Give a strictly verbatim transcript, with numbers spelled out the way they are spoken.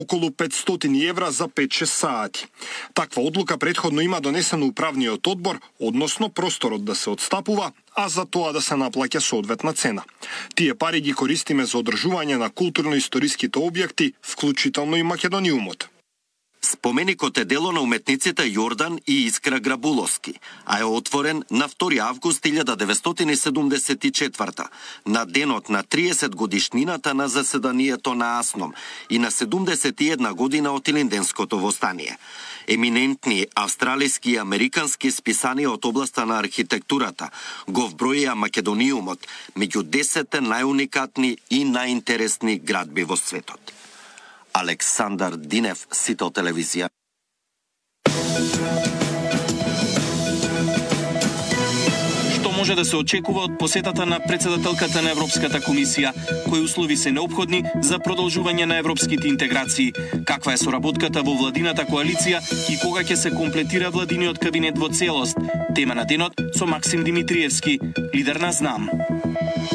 околу петстотини евра за пет-шест сати. Таква одлука претходно има донесено управниот одбор, односно просторот да се отстапува, а за тоа да се наплаќа соодветна цена. Тие пари ги користиме за одржување на културно-историските објекти, вклучително и Македониумот. Споменикот е дело на уметниците Јордан и Искра Грабуловски, а е отворен на втори август илјада деветстотини седумдесет и четврта, на денот на триесет годишнината на заседанието на АСНОМ и на седумдесет и една година од Илинденското востание. Еминентни австралиски и американски списанија од областа на архитектурата го вброија Македониумот меѓу десет најуникатни и најинтересни градби во светот. Александар Динев, Сител телевизија. Што може да се очекува од посетата на председателката на Европската комисија? Кои услови се неопходни за продолжување на европските интеграции? Каква е соработката во владината коалиција и кога ќе се комплетира владиниот кабинет во целост? Тема на денот со Максим Димитриевски, лидер на ЗНАМ.